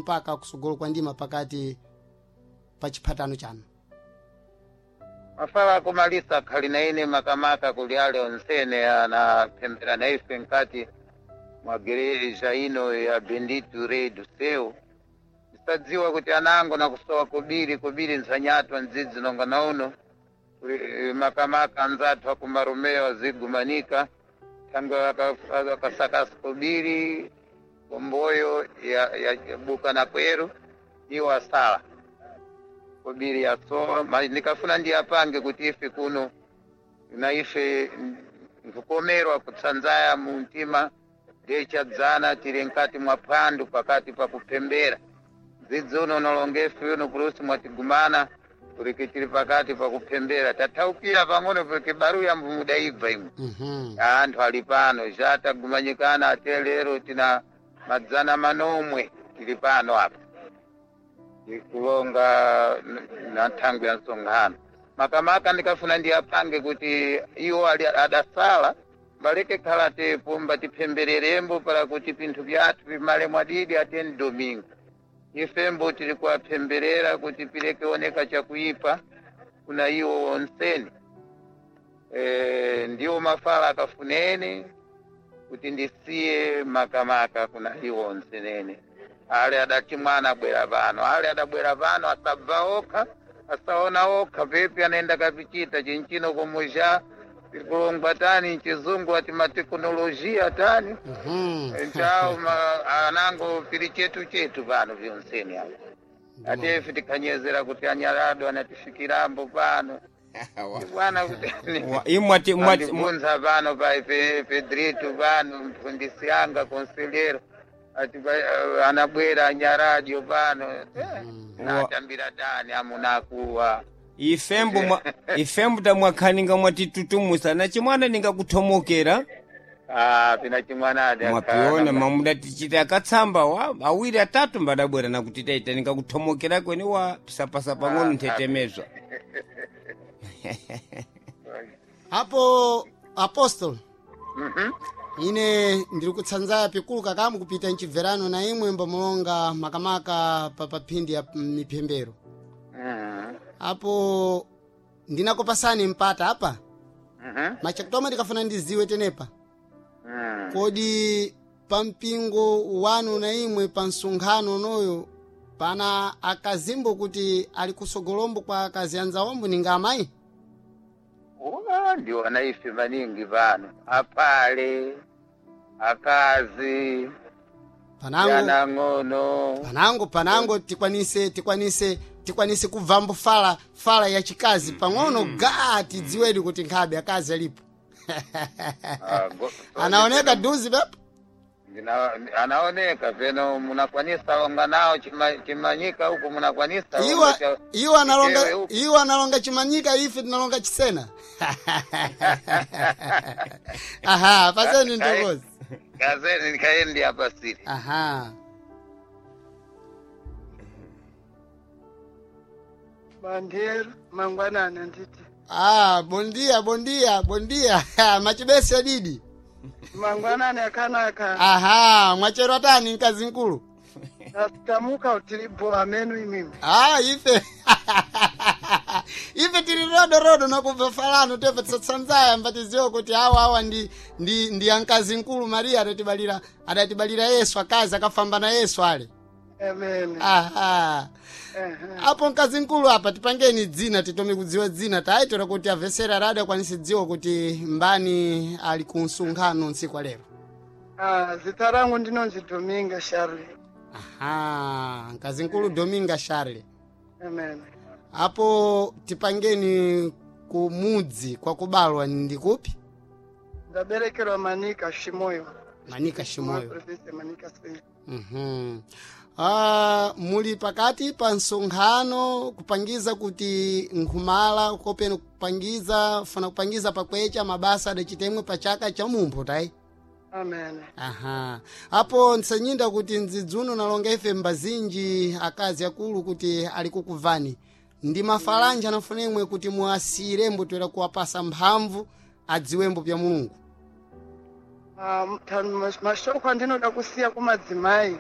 Mpaka kusogolo kwa ndima pakati pa chiphatano chanu. Mafala akumalisa akhali na ine, makamaka kuli ale onsene anaphembera na ife nkati mwa gereja ino ya Bendito Rei do Céu. Ndisadziwa kuti anango nakusowa kobiri kobiri ntsanyatwa ndzidzi nonga na uno. Makamaka anzathu akumaromeo azigumanika thangwe akasakasa kobiri komboyo ya buka na kweru iwo asala kobiri yasowa. Ndikafuna ndiyapange kuti ife kuno na ife nkukomerwa kutsanzaya mu mtima ndechadzana tili nkati mwa phwandu pakati pa kuphembera dzidzi uno nolongefe uno kulusi mwatigumana kuliki tili pakati pa kuphembera tathaukira pang'ono kuliki baruya mvumudaibva imwe. Anthu ali pano zatagumanyikana ate lero tina 900 tili pano apa tikulonga na nthangwi ya msonkhano. Makamaka ndikafuna ndiyapange kuti iwo ali adasala baleke khala tepo mbatiphembererembo para kuti pinthu pyathu pimale mwadidi ateni domingo ifembo tili kuwaphemberera kuti pileke oneka chakuipa kuna iwo onseni. Ndiwo mafala akafuneni kuti ndisiye makamaka kuna iwo onsenene ale adati mwana abwera pano, ale adabwera pano asabva okha asaona okha pepi anaenda kapichita chinchino kumuja kulongwa tani mchizungu ati matekinolojia tani. Nchawo anango pili chetu chetu pano vyonseni apo ate tikhanyezera kuti anyalado anatifikirambo pano bwana kuti Imwe mwati andibvunza pano pa Pedrito pano mfundisi anga conselheiro ati anabwera anyaradio pano natambira tani amunakuwa. Ifembo ifembo tamwakhaninga mwatitutumusa na chimwana ningakuthomokera. Ah, pina chimwanadi. Mwapiona mamuda tichita akatsamba wa awiri atatu mbadabwera nakuti taita ningakuthomokera kweni wa pisapasa pang'ono nthetemezwa. Apo apostol, ine ndiri kutsanzaya pikulu kakamu kupita mchibverano na imwe mbamulonga makamaka pa paphindi ya miphembero. Apo ndinakupasani mpata apa machakutoma ndikafuna ndiziwe tenepa kodi pa mpingo wanu na imwe pa msonkhano unoyo pana akazimbo kuti ali kusogolombo kwa akazi anzawombo ninga amayi? Ndiona ife maningi pano apale akazi panango yanang'ono. Panango tikwanise kubvambo fala fala ya chikazi pang'ono gaa tidziwedi kuti nkhabe akazi alipo. Anaoneka duzi pepo. Anaoneka peno munakwanisa longa nawo chimanyika huku munakwanisa iwo iwo analonga Ewe huku. Iwo analonga chimanyika, ife tinalonga chisena. Aha, paseni ntokozi. Kazeni nikaendi hapa siri. Aha. Bandier mangwanani nditi. Ah, bondia bondia bondia machibesi adidi. Mangwanani akanaka. Aha, mwachero atani mkazi mkulu? Tamuka utilibo amenu imimi. Ah, ife ife tili rodo rodo nakubva falano tefe tisatsanzaya mbatiziwo kuti awa awa ndi ankazi mkulu Maria adatibalira Yesu, akazi akafamba na Yesu ale. Amen. Aha. Apo mkazi mkulu apa tipangeni dzina titome kudziwa dzina taitera kuti avesera radio akwanise dziwa kuti mbani ali ku msonkhano ntsiku lero. Ah, zita rangu ndinonzi Dominga Charlie. Aha, mkazi mkulu Dominga Charlie. Amen. Apo tipangeni kumudzi kwa kubalwa ndikupi? Ndaberekerwa Manika Shimoyo. Manika Shimoyo. Province Manika State. Ah, muli pakati pa msonkhano kupangiza kuti nkhumala kopeno kupangiza funa kupangiza pakwecha mabasa adachitemwe pa chaka cha mumpho tayi. Amen. Aha, apo nsanyinda kuti ndzidzuno nalonga ife mbazinji akazi akulu kuti ali kukuvani ndi mafalanja anafuna imwe kuti muasire mbotwera kuwapasa mphamvu adziwembo pya Mulungu. Ah, mashoko andinoda kusiya kumadzimai.